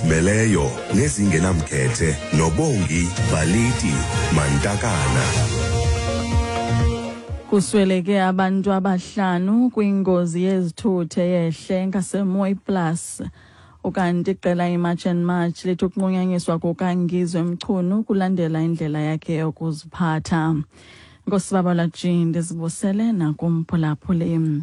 Ezizimeleyo nezingenamkhethe noBongi Baliti Mantakana. Kusweleke abantu abahlanu kwingozi yezithuthi eyehle ngaseMooi Plus. Ukanti iqela iMarch and March lithi ukunqunyanyiswa kukaNgizwe Mchunu kulandela indlela yakhe yokuziphatha. Nkosi Babalwa G, ndizibusele nakumphulaphuli.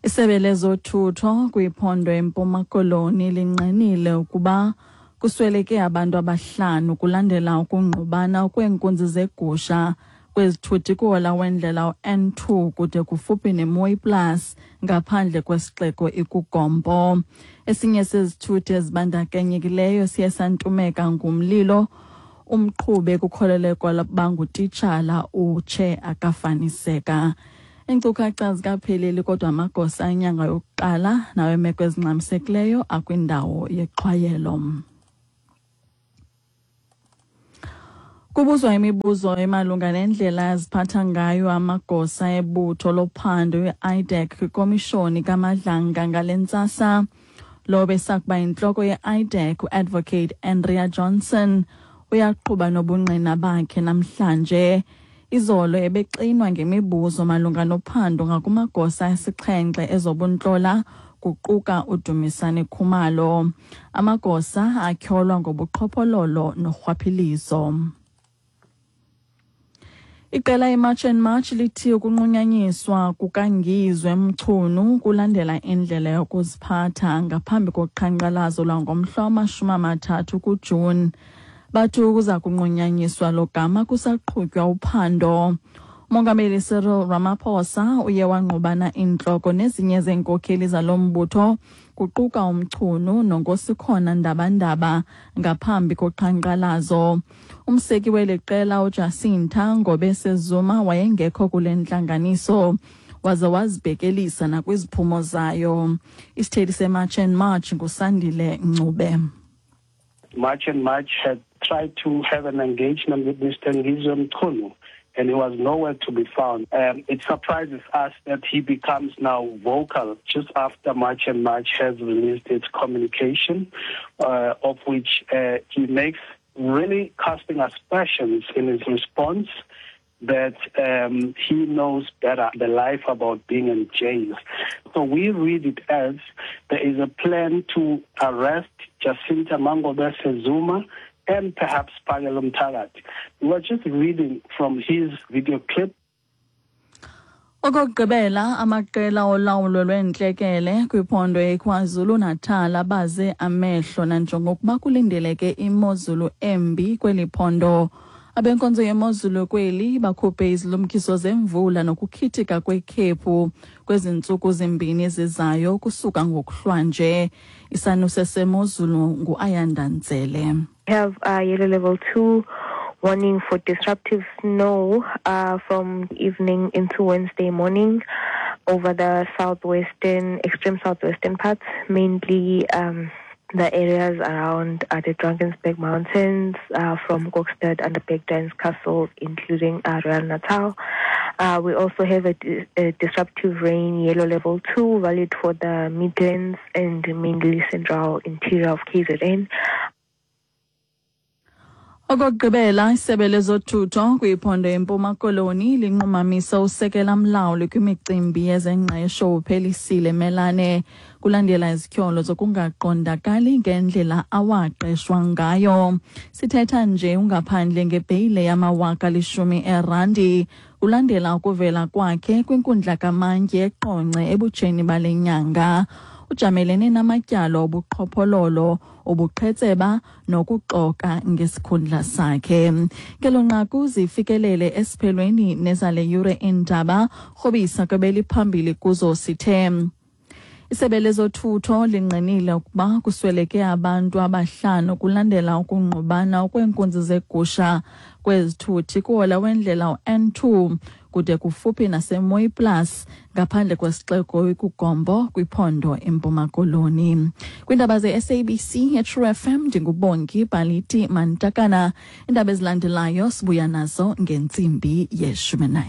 Isebe lezothutho kwiphondo eMpuma Koloni lingqinile ukuba kusweleke abantu abahlanu kulandela ukungqubana kweenkunzi zegusha kwezithuthi kuhola wendlela u-N2 kude kufuphi neMooi Plus ngaphandle kwesixeko iKuGompo. Esinye sezithuthi ezibandakanyekileyo siye santumeka ngumlilo. Umqhubi ekukholelekwa ukuba ngutitshala utshe akafaniseka. Iinkcukacha azikapheleli kodwa amagosa enyanga yokuqala nawemeko ezingxamisekileyo akwindawo yexhwayelo. Kubuzwa imibuzo emalunga nendlela aziphatha ngayo amagosa ebutho lophando i-IDAC kwikomishoni kaMadlanga ngale ntsasa. Lo besakuba yintloko ye-IDAC uAdvocate Andrea Johnson uyaqhuba nobungqina bakhe namhlanje. Izolo ebexinwa ngemibuzo malunga nophando ngakumagosa asixhenxe ezobuntlola kuquka uDumisani Khumalo. Amagosa atyholwa ngobuqhophololo norhwaphilizo. Iqela iMarch and March lithi ukunqunyanyiswa kukaNgizwe Mchunu kulandela indlela yokuziphatha ngaphambi koqhankqalazo lwangomhla wama-30 kuJuni. Bathi kuza kunqunyanyiswa lo gama kusaqhutywa uphando. Umongameli Cyril Ramaphosa uye wangqubana intloko nezinye zeenkokheli zalo mbutho kuquka uMchunu noNkosikhona Ndabandaba ngaphambi koqhankqalazo. Umseki weli qela uJacinta Ngobese Zuma wayengekho kule ntlanganiso waze wazibhekelisa nakwiziphumo zayo. Isithethi seMarch and March nguSandile Ncube. March and March had tried to have an engagement with Mr. Ngizwe Mchunu, and he was nowhere to be found. It surprises us that he becomes now vocal just after March and March has released its communication, of which he makes really casting aspersions in his response that he knows better the life about being in jail. So we read it as there is a plan to arrest Jacinta MaNgobese Zuma and perhaps Phakel'umthakathi. We were just reading from his video clip. Okokugqibela, amaqela olawulo lweentlekele kwiphondo iKwaZulu-Natal abaze amehlo nanjengokuba kulindeleke imozulu embi kweli phondo. Abenkonzo yemozulu kweli bakhuphe izilumkiso zemvula nokukhithika kwekhephu kwezi ntsuku zimbini zizayo kusuka ngokuhlwanje. Isanuse semozulu nguAyanda Ntsele. We have yellow level 2 warning for disruptive snow from evening into Wednesday morning over the southwestern, extreme southwestern parts, mainly the areas around the Drakensberg Mountains, from Kokstad and the Bergdans Castle, including Royal Natal. We also have a disruptive rain, yellow level 2, valid for the Midlands and mainly central interior of KZN. Okokugqibela, isebe lezothutho kwiphondo eMpuma Koloni linqumamisa usekela mlawuli kwimicimbi yezengqesho uPhelisile Melane kulandela izityholo zokungaqondakali ngendlela awaqeshwa ngayo. Sithetha nje ungaphandle ngebheyile yamawaka 10 erandi kulandela ukuvela kwakhe kwinkundla kamantyi eQonce ebutsheni bale nyanga. Ujamelene namatyala obuqhophololo, ubuqhetseba nokuxoka ngesikhundla sakhe. Ngelo nqaku zifikelele esiphelweni nezale yure iindaba. Rhobisa kwebeliphambili kuzo sithe isebe lezothutho lingqinile ukuba kusweleke abantu abahlanu kulandela ukungqubana kweenkunzi zegusha kwezithuthi kuhola wendlela u-N2 kude kufuphi naseMooi Plus ngaphandle kwesixeko iKugombo kwiphondo iMpuma Koloni. Kwiindaba ze-SABC eTrue FM ndinguBongi Baliti Mantakana. Iindaba ezilandelayo sibuya nazo ngentsimbi ye-11.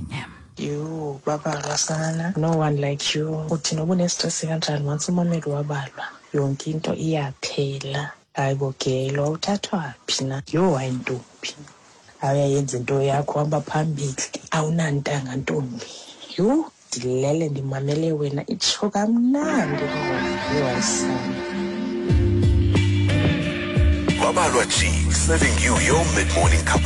Yho, babalwa sana. No one like you. Uthi noba unestresi kanjani once umameli wabalwa. Yonke into iyaphela. Hayi bo gelo, awuthathwa phi na? Yho, hayi ntombi. Awuyayenza into yakho, hamba phambili. Awunantanga ntombi. Yho, ndilele ndimamele wena, itsho kamnandi ingoma. Yho, hayi sana. Babalwa G, serving you your mid-morning cup.